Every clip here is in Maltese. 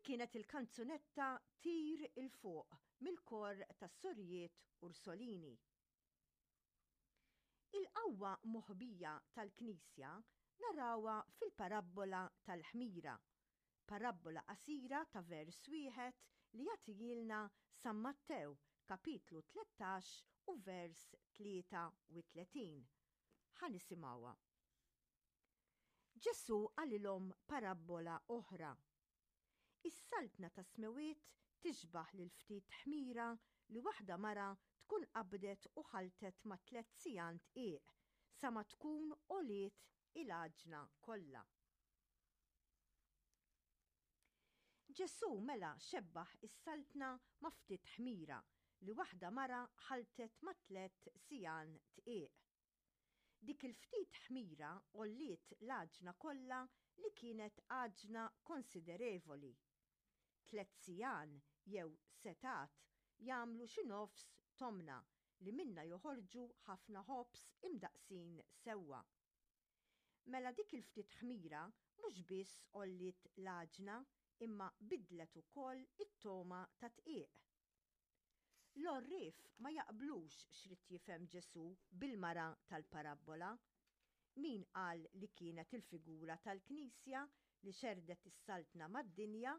kienet il-kanzunetta Tir 'il Fuq mill-kor tas-Sorijiet Ursolini. Il-qawwa moħbija tal-Knisja narawha fil-parabbola tal-ħmira, parabbola qasira ta' vers wieħed li jagħtihielna San Mattew kapitlu 13 u vers 33. Ħa nisimgħuha. Ġesù qalilhom parabbola oħra. Is-Saltna tas-Smewwiet tixbah lil ftit ħmira li waħda mara tkun qabdet u ħalltet ma' tlett sigħan dqiq sa ma tkun għoliet il-għaġna kollha. Ġesù mela xebbah is-Saltna ma' ftit ħmira li waħda mara ħalltet ma' tlett sigħan dqiq. Dik il-ftit ħmira għolliet l-għaġna kollha li kienet għaġna konsiderevoli. Tlett sigħan jew setgħat jagħmlu xi nofs tomna li minnha joħorġu ħafna ħobż imdaqqsin sewwa. Mela dik il-ftit ħmira mhux biss għolliet l-għaġna imma biddlet ukoll it-togħma tad-dqiq. L-għorrief ma jaqblux x'ried jifhem Ġesù bil-mara tal-parabbola. Min qal li kienet il-figura tal-Knisja li xerrdet is-Saltna mad-dinja?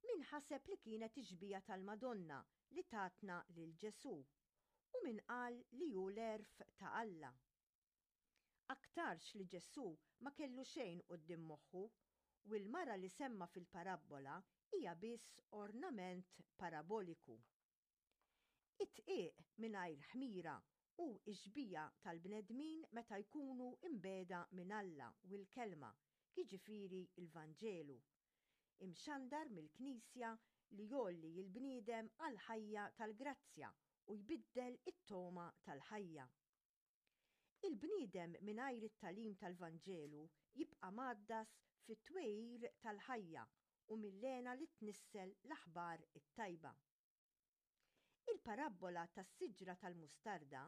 Min ħaseb li kienet ix-xbieha tal-Madonna li tatna lil Ġesù? U min qal li hu l-għerf ta' Alla? Aktarx li Ġesù ma kellu xejn quddiem moħħu, u l-mara li semma fil-parabbola hija biss ornament paraboliku. Id-dqiq mingħajr ħmira hu x-xbieha tal-bnedmin meta jkunu mbiegħda minn Alla u l-Kelma, jiġifieri l-Vanġelu, imxandar mill-Knisja li jgħolli l-bniedem għall-ħajja tal-grazzja u jbiddel it-togħma tal-ħajja. Il-bniedem mingħajr it-tagħlim tal-Vanġelu jibqa' mgħaddas fit-twegħir tal-ħajja u mill-hena li tnissel l-aħbar it-tajba. Il-parabbola tas-siġra tal-mustarda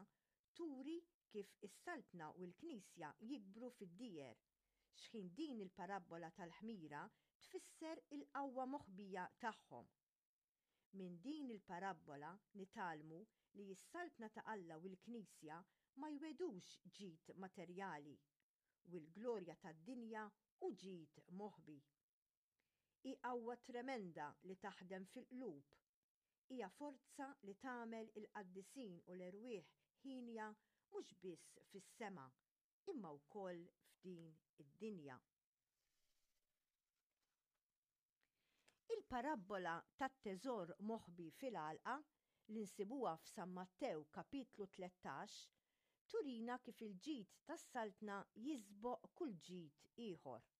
turi kif is-Saltna u l-Knisja jikbru fid-dieher, x'ħin din il-parabbola tal-ħmira tfisser il-qawwa moħbija tagħhom. Minn din il-parabbola nitgħallmu li s-Saltna ta' Alla u l-Knisja ma jwegħdux ġid materjali, u l-glorja tad-dinja hu ġid moħbi. Hi qawwa tremenda li taħdem fil-qlub. Hija forza li tagħmel il-qaddisin u l-erwieħ hienja mhux biss fis-sema, imma wkoll f'din id-dinja. Il-parabbola tat-teżor moħbi fil-għalqa, li nsibuha f'San Mattew kapitlu 13, turina kif il-ġid tas-Saltna jisboq kull ġid ieħor.